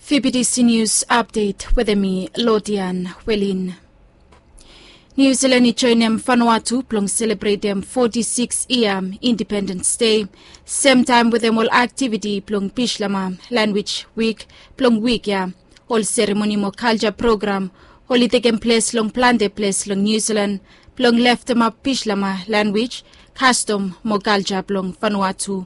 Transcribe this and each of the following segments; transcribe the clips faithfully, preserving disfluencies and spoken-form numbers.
Fibidisi Nius Apdet wetem mi, Lodian Welin. Niu Silan i joenem Vanuatu blong selebretem foti sikis yia Indipendens Dei, semtaem wetem ol aktiviti blong Bislama Lanwij Wik blong wik ya. Ol seremoni mo kalja program oli tekem ples long plante ples long Niu Silan blong leftemap Bislama lanwij, kastom mo kalja blong Vanuatu.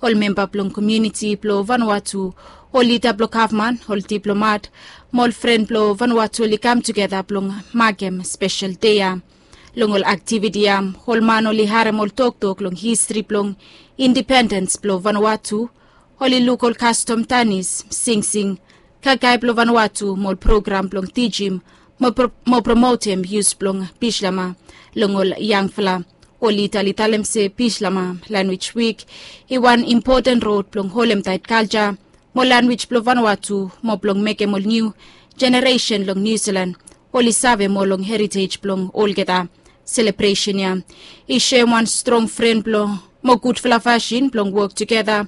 Ol memba blong komuniti blong Vanuatu, ol lida blong gavman, ol diplomat mo ol fren blong Vanuatu oli kam tugeta blong makem spesel dei ya. Long ol aktiviti ya, ol man oli harem ol toktok long histri blong indipendens blong Vanuatu. Oli luk ol kastom, danis, singsing, kakae blong Vanuatu mo ol program blong tijim mo promotem yus blong Bislama long ol yangfala. Oli tali talem se Bislama Lanwij Wik i wan impoten rod blong holemtaet kalja mo lanwij blong Vanuatu mo blong mekem ol niu jeneresen long Niu Silan oli save moa long heritej blong olgeta. Selebresen ya i soem wan strong fren blong mo gudfala fasin blong wok tugeta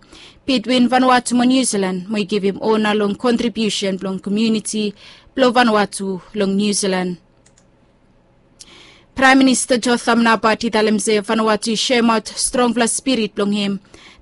bitwin Vanuatu mo Niu Silan mo i givim ona long kontribiusen blong komuniti blong Vanuatu long Niu Silan. Praem Minista Jotham Napat i talem se Vanuatu i soemaot strongfala spirit blong hem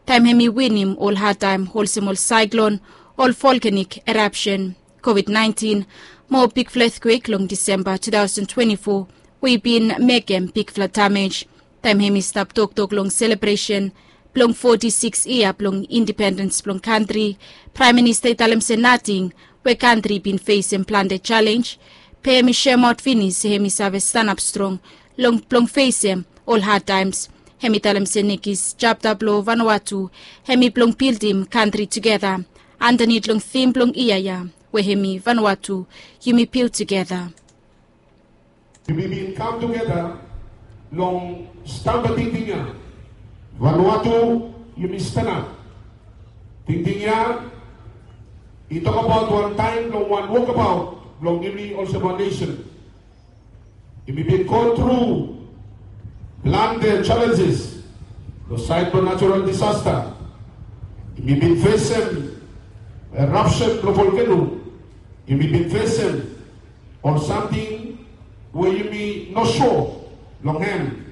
taem hem i winim ol hadtaem olsem ol saeklon, ol volkanik erapsen, kovid naentin mo bigfala etkwek long Disemba tu taosen twenti fo we i bin mekem bigfala damej. Taem hem i stap toktok long selebresen blong foti sikis yia blong indipendens blong kantri, Praem Minista i talem se nating we kantri i bin fesem plante jalenj, be hem i soemaot finis se hem i save stanap strong long blong fesem ol hadtaems. Hem i talem se nekis japta blong Vanuatu hem i blong bildim kantri tugeta andanit long tim blong yia ya we hem i Vanuatu, yumi bil tugeta. Yumi bin kam tugeta long stamba tingting ya. Vanuatu, yumi stanap. Tingting ya i tokbaot wan taem blong wan wokbaot blong yumi olsem wan nesen. Yumi bin go tru plante jalenjes long saed blong natural disasta. Yumi bin fesem erapsen blong volkeno. Yumi bin fesem ol samting we yumi no sua long hem